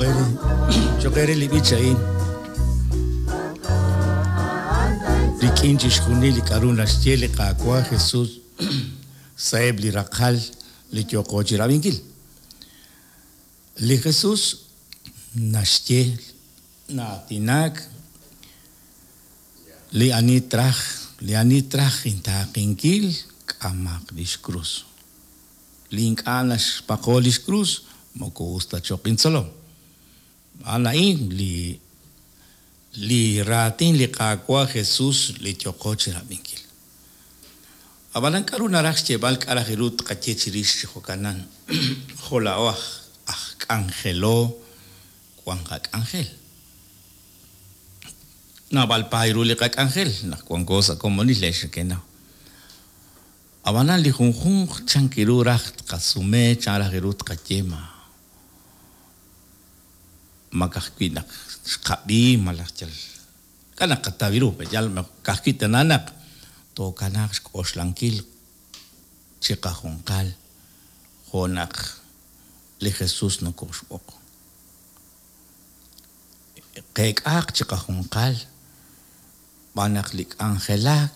Cho'q eere, cho'q eere li b'ich a'in. Rik'in chixjunil li k'a'ru naxye li Qaawa' Jesus sa'eb' li raqal li yooqo chirab'inkil. Li Jesus naxye na'aatinak li ani traj, li ani traj intaaqenkil, k'amaq lix krus. Li ink'a' naxpaqo lix krus, moko us ta choq' intzolom. A'an a'in li li raatin li Qaawa' Jesus li yooqo chirab'inkil. Ab'anan k'aru naraj xyeeb'al k'a' raj ru tqaye chirix chi jo'kanan? Jo' laa'o aj aj k'anjelo wank qak'anjel. Naab'al paay ru li qak'anjel naq wanko sa' komonil leex nekenaw. Ab'anan li junjunq chan ru raj tqasume chan raj ru tqaye ma ma ka'ajwi' naq xqab'i malaj yal Ink'a' naqataw ru, pe'yaal naq ka'ajwi' tana naq tookanaaq xk'oxlankil chiqajunqal jo' naq li Jesús nokooxb'oq. Qeek'aaq chiqajunqal b'an naq li k'anjelak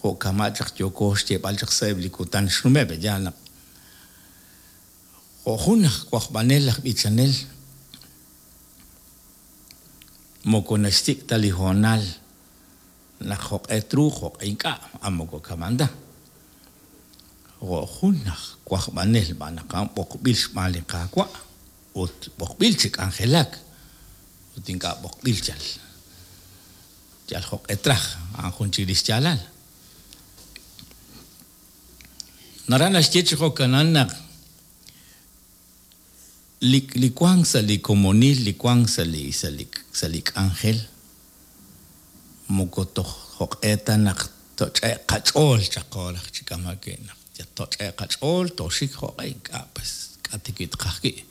jo' kama' chaq yooko xyeeb'al chaq sa'eb' li kutan xnume', pe'yaal naq jo' jun aj wajb'anel aj b'ichanel Moko naxsik' ta li hoonal naq jo'q'e truuq jo'q'e ink'a', a moko kama'an ta. Jo' jun aj wajb'anel b'an naq a'an b'oqb'il xb'aan li Qaawa' ut b'oqb'il chi k'anjelak ut ink'a' b'oqb'il yal yal jo'q'e traj, a'an jun chik li xyaalal. Naraj naxye chi jo'kanan naq Li li wank sa' li komonil, li wank sa' li sa' li sa' li k'anjel, moko toj jo'q'e ta naq toch'e'q qach'ool chaq raj chi kama' wi' naq toch'e'q qach'ool tooxik jo'q'e ink'a' pues k'a' ta wi' tqaj wi'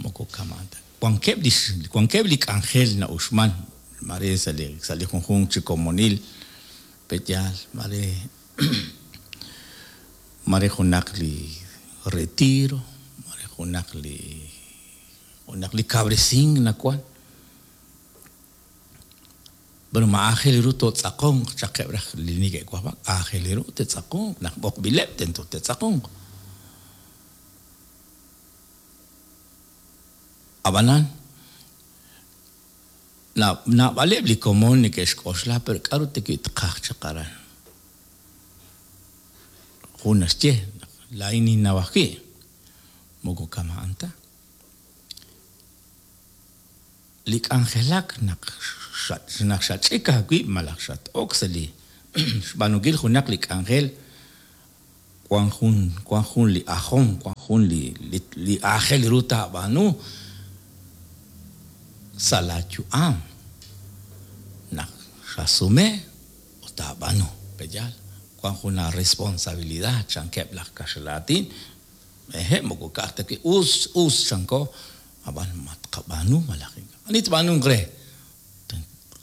moko kama'an ta. Wankeb' li wankeb' li k'anjel na'uxman mare sa' li sa' li junjunq chi komonil pe'yaal mare Mare junaq li retiro, mare junaq li junaq li kawresink nawan. Pero ma aajel ru tootz'aqonq chaqeb' raj li neke'wajb'ak, aajel ru te'tz'aqonq, naq b'oqb'ileb' tento te'tz'aqonq. Ab'anan, naab'aleb' li komon neke'xk'oxla, pero k'aru ta wi' tqaj chaq aran? Jun naxye naq laa'in ninnaw ajwi', moko kama'an ta. Li k'anjelak naq naq xach'ik aawib' malaj xat-ok sa' li xb'aanunkil junaq li k'anjel, wan jun wan jun li ajom, wan jun li li aajel ru taab'aanu sa' laa yu'am naq xasume ut taab'aanu. Pe'yaal? Wank jun aaresponsabilidad, chankeb' laj kaxlan aatin. Hehe', moko ka'aj ta wi' us, us chanko, ab'an ma tqab'aanu malaj ink'a'. Ani tb'aanunq re?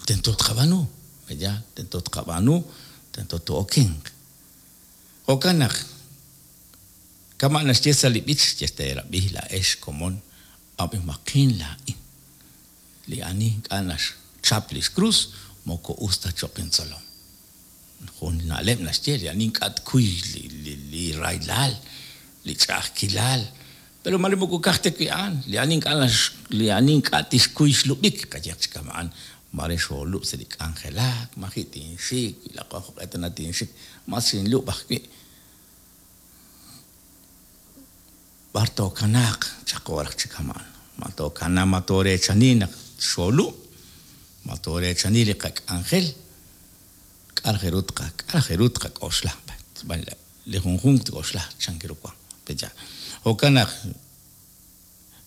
Tento tqab'aanu. Pe'yaal? Tento tqab'aanu, tento too'okenq. Jo'kan naq, kama' naxye sa' li b'ich, Teerab'i laa'ex komon, ab'imaqin laa'in. Li ani ink'a' naxchap lix krus moko us ta choq' intzolom. Jun na'leb' naxye, li ani ink'a' tkuy li rahilal, li ch'a'ajkilal, pero maare moko ka'aj ta wi' a'an, li ani ink'a' li ani ink'a' tixkuy xlub'ik, qayehaq chi kama'an, maare xoolub' sa' li k'anjelak, maji' tinxik, wi laq'o jo'q'e tana tinxik, mas xinlub' ajwi'. B'ar tookanaaq chaqo raj chi kama'an? Ma tookana, ma tooreechani naq xoolub'? Ma tooreechani li qak'anjel? K'a' raj ru tqa, k'a' raj ru tqak'oxla? Li junjunq tk'oxla chan ru wank. Pe'yaal? Jo'kan naq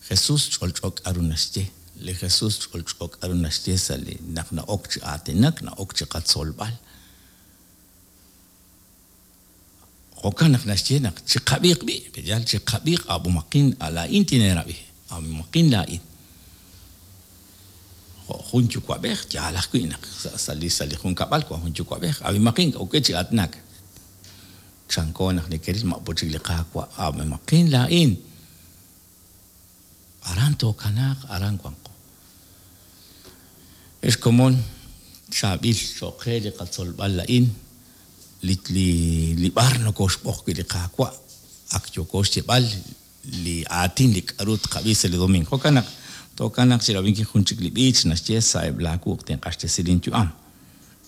Jesús ch'olch'o k'aru naxye. Li Jesús ch'olch'o k'aru naxye sa' li naq na'ok chi aatinak, na'ok chi qatzolb'al. Jo'kan naq naxye naq chiqab'iiq b'i', pe'yaal? Chiqab'iiq ab'umaqin, laa'in tineerab'i, ab'umaqin laa'in. Jo' jun yuwa'b'ej, yaal ajwi' naq sa' li sa' li junkab'al wan jun yuwa'b'ej, ab'imaqin, ok chi aatinak. Chanko naq nekeril ma' po chik li Qaawa', ab'imaqin laa'in. Aran tookanaaq, aran wanqo. Ex komon, chaab'il cho'q qe li qatzolb'al a'in, li, li, li b'ar nokooxb'oq wi' li Qaawa', ak yooko xyeeb'al li aatin li k'aru tqab'i sa' li domingo. Jo'kan naq tookanaaq chi rab'inkil jun chik li b'ich naxye sa'eb' laa wuq' tinq'axtesi linyu'am.